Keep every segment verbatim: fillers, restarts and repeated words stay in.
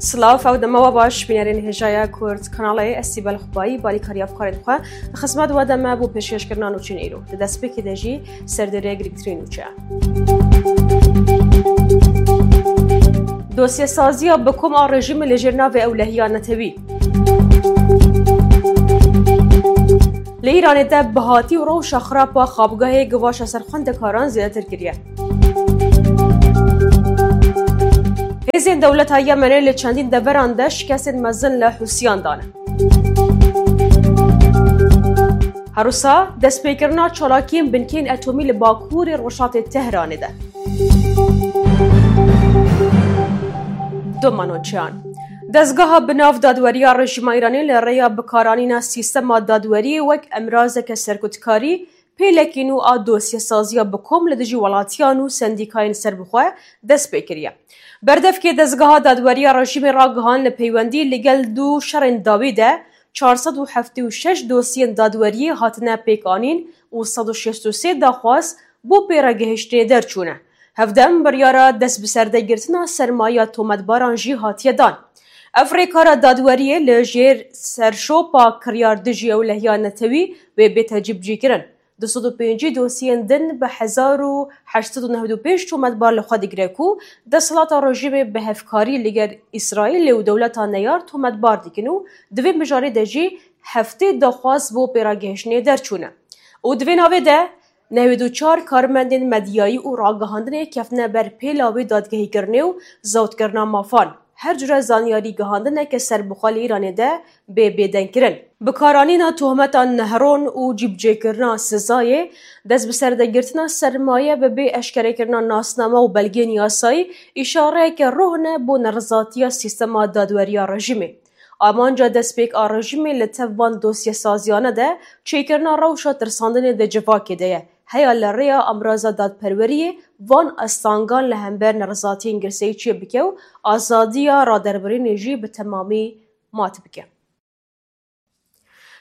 Silav, ew dema we baş, bînerên hêjaya Kurd Kanalê, ez Sîbel Xubayî, balîkarî hevkarên xwe, di xizmet we de me bo pêşkêşkirina nûçeyên îro. Di destpêkê de jî serdêrê girîngtirîn nûçe. Dosyesaziya bi kom a rejîmê li jêr navê ewlehiya netewî. Li Îranê de bihatî û rewşa xirab a xabgehê givaşa ser xwendekaran zêdetir kiriye. Hêzên dewleta Yemenê li çendîn deveran de şikestên mezin li Hûsiyan dane. Her wisa destpêkirina çalakiyên binkeyên etomî li bakurê rojhatê Tehranê de. Domanoçiyan. Dezgeha bi nav dadweriya rejîma Îranê li rêya bikaranîna sîstema dadweriyê wek emrazeke serkutkarî, pêlekî nû a dosyesaziya bi kom li dijî welatiyan û sendîkayên serbixwe dest pê kiriye. Berdevkê dezgeha dadweriya rejîmê ragihand li peywendî li gel du şerên dawî de çar sed û heftê û şeş dosyên dadweriyê hatine pêkanîn û sed û şêst û sê daxwaz bo pêregihiştinê derçûne. Hevdem biryara dest bi serdegirtina sermayeya tometbaran jî hatiye dan. Ev rêkara dadweriyê li jêr serşopa kiryar dijî ewlehiya netewî wê bête cîbicîkirin. Du sed û pêncî dosyên din bi hezar û heşt sed û newid û pênc tometbar li xwe digire ku desthilata rejîmê bi hevkarî li gel Îsraîlê û dewleta neyar tometbar dikin û di vê mijarê de jî heftê daxwaz bo pêragihiştinê derçûne. Û di vê navê de newêd û çar karmendên medyayî û ragihandinê ketine ber pêla wê dadgehîkirinê û zewtkirina mafan. Her cure zanyarî gihandineke serbixwe li Îranê de bê bêdengkirin. Bikaranîna tohmeta nehron û cîbicêkirina sizayê, dest bi serdegirtina sermaye bi bê eşkerekirina nasname û belgeyên yasayî, îşareyeke roh ne bo nerizatiya sîstema dadweriya rejîmê. Amanca destpêk a rejîmê li tev van dosyesaziyane de çêkirina rewşa tirsandinê di civakê de ye. Heya li rêya amraza dadperweriyê van astangan li hember nerizatiyên girseyî çêbike û azadiya raderbirînê jî bi temamî mat bike.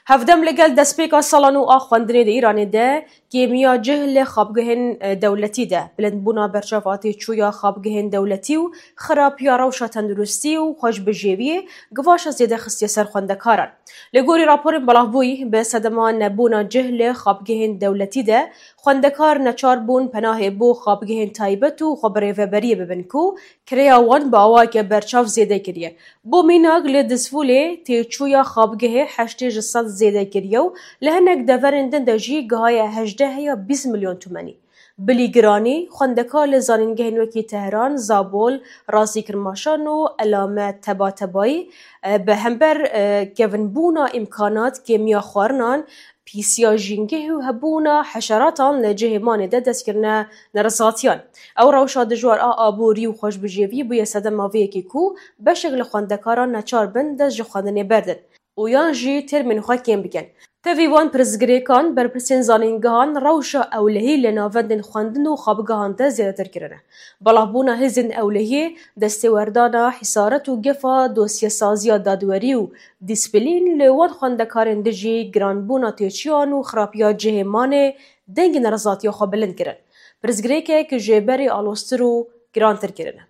Hevdem li gel destpêka sala nû a xwendinê di Îranê de kêmiya cih li xabgehên, e, dewletî de, bilindbûna berçav a têçûya xabgehên dewletî û xirapiya rewşa tenduristî û xweşbijêriyê givaşa zêde xistiye ser xwendekaran. Li gorî raporên belavbûyî, bi sedema nebûna cih li xabgehên dewletî de, xwendekar neçar bûn penahê bo xabgehên taybet û xwebirêveberiyê bibin ku kirêya wan bi awayeke berçav zêde kiriye. Bo mînak, li Dizfûlê têçûya xabgehê heştê ji sed zêde kiriye û li hinek deverên din de jî gihaye hejdeh heya bîst milyon tumenî. Bilî giranî, xwendekar li zanîngehên wekî Tehran, Zabol, Razî Kirmaşan û Elame Tebatebayî, e, bi hember, e, kevinbûna îmkanat, kêmiya xwarinan, pîsiya jîngeh û hebûna heşeratan li cihê manê de dest kirine nerizatiyan. Ew rewşa dijwar a aborî û xweşbijêrî bûye sedema vê yekê ku beşek li xwendekaran neçar bin dest ji xwendinê berdin û yan jî termên xwe kêm bikin. Tevî van pirsgirêkan, berpirsên zanîngehan rewşa ewlehî li navendên xwendin û xabgehan de zêdetir kirine. Belavbûna hêzên ewlehiyê, destêwerdana hîsaret û gefa dosyesaziya dadwerî û dîsplîn li wan xwendekarên dijî giranbûna têçiyan û xirapiya cihê manê dengê nerizatiya xwe bilind kirin. Pirsgirêkek ji berê aloztir û girantir kirine.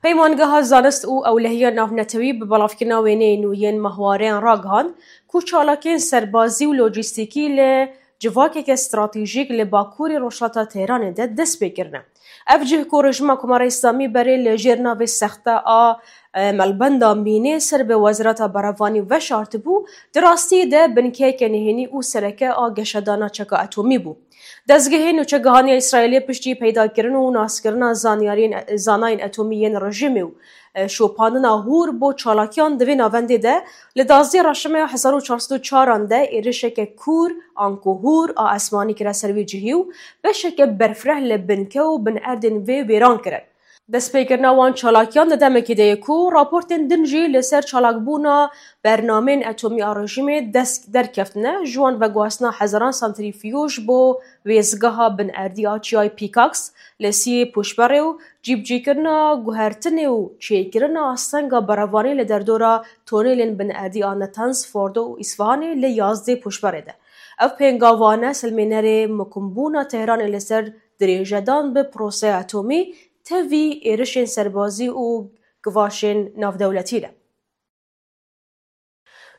Peymangeha Zanist û Ewlehiya Navnetewî bi belavkirina wêneyên nû yên mehwareyan ragihand ku çalakiyên serbazî û lojîstîkî li civakeke stratejîk li bakurê rojhilata Tehranê de dest pê kirine. Ev cih ku rejîma Komara Îslamî berê li jêr navê sexte a, e, Melbenda Mînê ser bi Wezareta Berevanî veşartibû, di rastiyê de binkeyeke nihênî û sereke a geşedana çeka etomî bû. Dezgehê nûçegihanî ya Îsraîlê piştî peydakirin û naskirina zanyariyên, zanayên etomî yên rejîmê û, e, şopandina hûr bo çalakiyan di vê navendê de li duwazdeh reşimeya hezar û çar sed û çaran de êrişeke kûr, anku hûr a esmanî kire ser wî cihî û beşeke berfireh li binke û binerdên vê wêran kirin. Destpêkirina wan çalakiyan di demekê de ye ku raportên din jî li ser çalakbûna bernameyên etomî a rejîmê dest derkeftine, ji wan veguhastina hezaran santrîfyûj bo wêzgeha binerdî a çiyayê Pîkaks li Siyê Pûşberê û cîbicîkirina guhertinê û çêkirina astenga berevanî li derdora tonelên binerdî a Natanz, Fordo û Îsfahanê li yazdê Pûşberê de. Ev pêngavane silmênerê mukimbûna Tehranê li ser dirêjedan bi proseya atomî tevî êrişên serbazî û givaşên navdewletî de.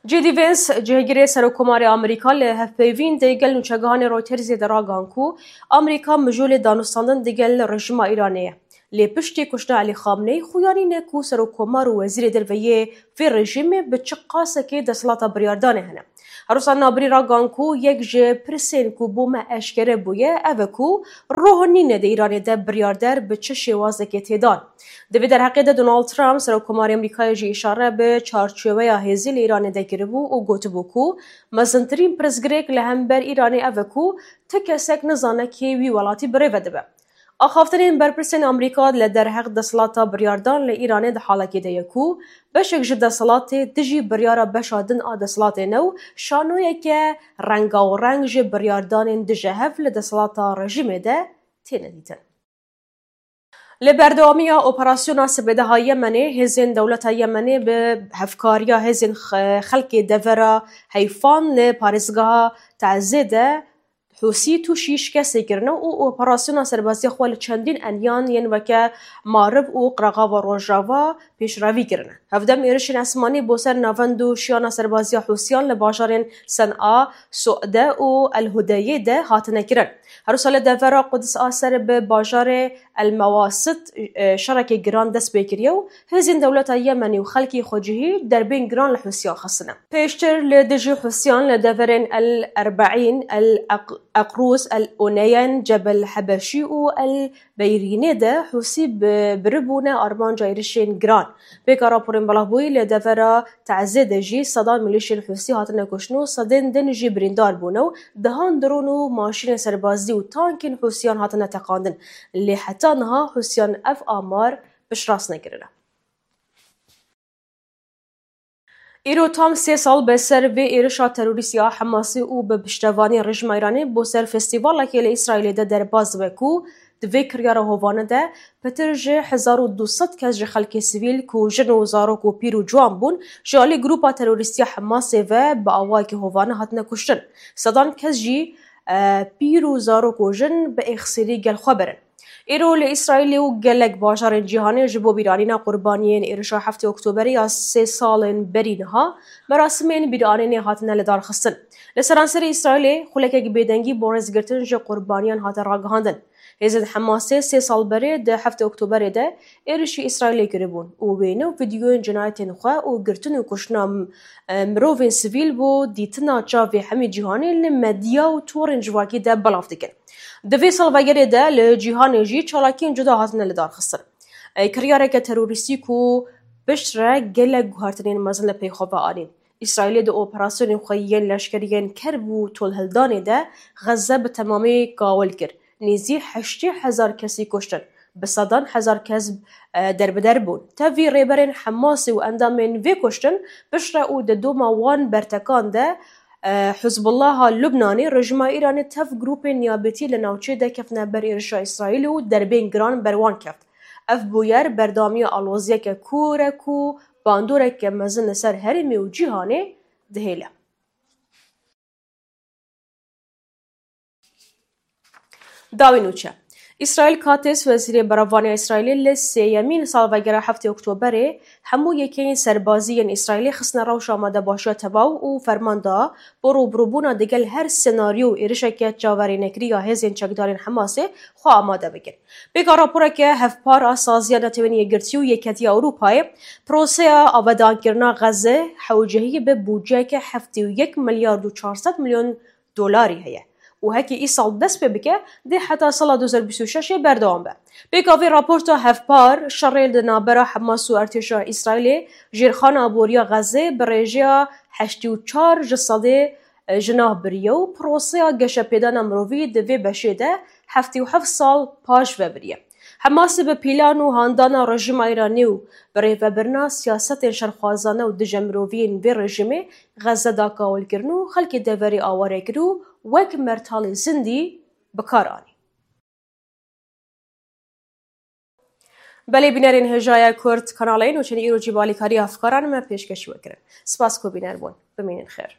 J D Vance, cihgirê Serokkomarê Amerîka li hevpeyvîn digel nûçegihanê Reutersê de ragihan ku Amerîka mijûlê danûstandin digel rejîma Îranê ye. Lê piştî kuştina Elî Xamneyî xuyanî ne ku serokkomar û wezîrê derve yê vê rejîmê bi çi qasekê desthilata biryardanê hene. Her wisa Nabirî ragihan ku yek ji pirsên ku bo me eşkere bûye ev e ku roh nîne di Îranê de biryarder bi çi şêwazekê tê dan. Di vê derheqê de Donald Trump, Serokkomarê Amerîkayê jî îşare bi çarçoveya hêzê li Îranê de kiribû û gotibû ku mezintirîn pirsgirêk li hember Îranê ev e ku ti kesek nizane kê wî welatî birêve dibe. Axaftinên berpirsên Amerîka li derheq desthilata biryardan li Îranê di halekê de ye ku beşek ji desthilatê dijî biryara beşa din a desthilatê ne û şanoyeke rengawereng ji biryardanên dijehev li desthilata rejîmê de têne dîtin. Li berdewamiya operasyona sibê de ha Yemenê, hêzên dewleta Yemenê bi hevkariya hêzên xe-, xelkê devera Heyfan li parêzgeha Teezê de Hûsî tûşî şikestê kirine û operasyona serbazîya xwe li çendîn enyan yên weke Marib û Qirexava Rojava pêşrevî kirine. Hevdem êrişên esmanî bo ser navend û şiyana serbaziya Hûsiyan li bajarên Sen'a, Su'de û El Hudeyê de hatine kirin. Her wisa li devera Quds a ser bi bajarê El Mewasit, e, şerekê giran dest pê kiriye û hêzên dewleta Yemenî û xelkê xwecihî derbên giran li Hûsiyan xistine. Pêştir li dijî Hûsiyan li deverên El Erbeîn, El Eq-, Eqrûs, El Oneyen, Cebel Hebeşî û El Beyrînê de Hûsî bi-, biribûne armanca êrişên giran. Pêka raporên belavbûyî li devera Teezê de jî sedan milîşên Hûsî hatine kuştin û sedên din jî birîndar bûne û dehan dron û maşînên serbazî û tankên Hûsiyan hatine teqandin. Lê heta niha Hûsiyan ev amar piştrast nekirine. Îro tam sê sal be ser vê êrişa terorîstî ya Hemasê û bi piştevanî rejîma Îranê bo ser festîvalekê li Îsraîlê de derbas dibe ku di vê kiryara hovane de pitir ji hezar û du sed kes ji xelkê sivîl ku jin û zarok û pîr û ciwan bûn, ji alî grûpa terorîstî ya Hemasê ve bi awayekî hovane hatine kuştin. Sedan kes jî, e, pîr û zarok û jin bi êxsîrî gel xwe birin. Îro li Îsraîlê û gelek bajarên cîhanê ji bo bîranîna qurbaniyên êrişa heftê Oktoberê ya sê salên berî niha merasimên bîranînê hatine lidarxistin. Li seranserê Îsraîlê xulekek bêdengî bo rêzgirtin ji qurbaniyan hate ragihandin. Hêzên Hemasê sê sal berê di heftê Oktoberê de êrişî Îsraîlê kiribûn û wêne û vîdyoyên cinayetên xwe û girtin û kuştina, e, mirovên sivîl bo dîtina çavê hemî cîhanê li medya û torên civakî de belav dikin. Di vê salvegerê de li cîhanê jî çalakiyên cuda hatine lidarxistin. Ê, kiryareke terorîstî ku piştre gelek guhertinên mezin li pey xwe ve anîn. Îsraîlê di operasyonên xwe yên leşkeriyên kerb û tolhildanê de Xezze bi temamî kawil kir. Nêzî heştê hezar kesî kuştin, bi sedan hezar kes, e, derbider bûn. Tevî rêberên Hemasê û endamên vê kuştin piştre û di doma wan bertekan de, e, Hizbullaha Lubnanê, rejîma Îranê tev grûpên niyabetî li navçê de kefne ber êrişa Îsraîlê û derbên giran ber wan keft. Ev bûyer berdewamiya aloziyeke kûr e ku bandoreke mezin li ser herêmê û cîhanê dihêle. Dawî nûçe. Îsraîl Katz, wezîrê berevanê ya Îsraîlê, li sêyemîn salvegera heftê Oktoberê hemû yekeyên serbazî yên Îsraîlê xistine rewşa amadebaşiya tevaw û ferman da bo rûbirûbûna digel her senaryo û êrişeke çaverênekirî ya hêzên çekdarên Hemasê xwe amade bikin. Pêka raporeke hevpar a Saziya Netewên Yekgirtî û Yeketiya Ewropayê, proseya avedankirina Xezze hewcehiyê bi bûceyeke heftê û yek milyar û çar sed milyon dolarî heye û heke îsal dest pê bike, dê heta sala du hezar bîst û şeş berdewam be. Pêka vê raporta hevpar, şerê di navbera Hemas û artêşa Îsraîlê jêrxana aboriya Xezê bi rêjeya heştê û çar ji sedê ji nav biriye û proseya geşepêdana mirovî di vê beşê de heftê û heft sal paş ve biriye. Hemasê bi pîlan û handana rejîma Îranê û birêvebirina siyasetên şerxwazane û dije mirovî yên vê rejîmê Xezze da kawilkirin û xelkê deverê aware kir û wek mertalê zindî bi kar anî. Belê bînerên hêjaya Kurd kanalê nûçeyên îro jî bi alîkariya hevkaran me pêşkêşî we kirin. Spas ku bîner bûn. Bimînin xêr.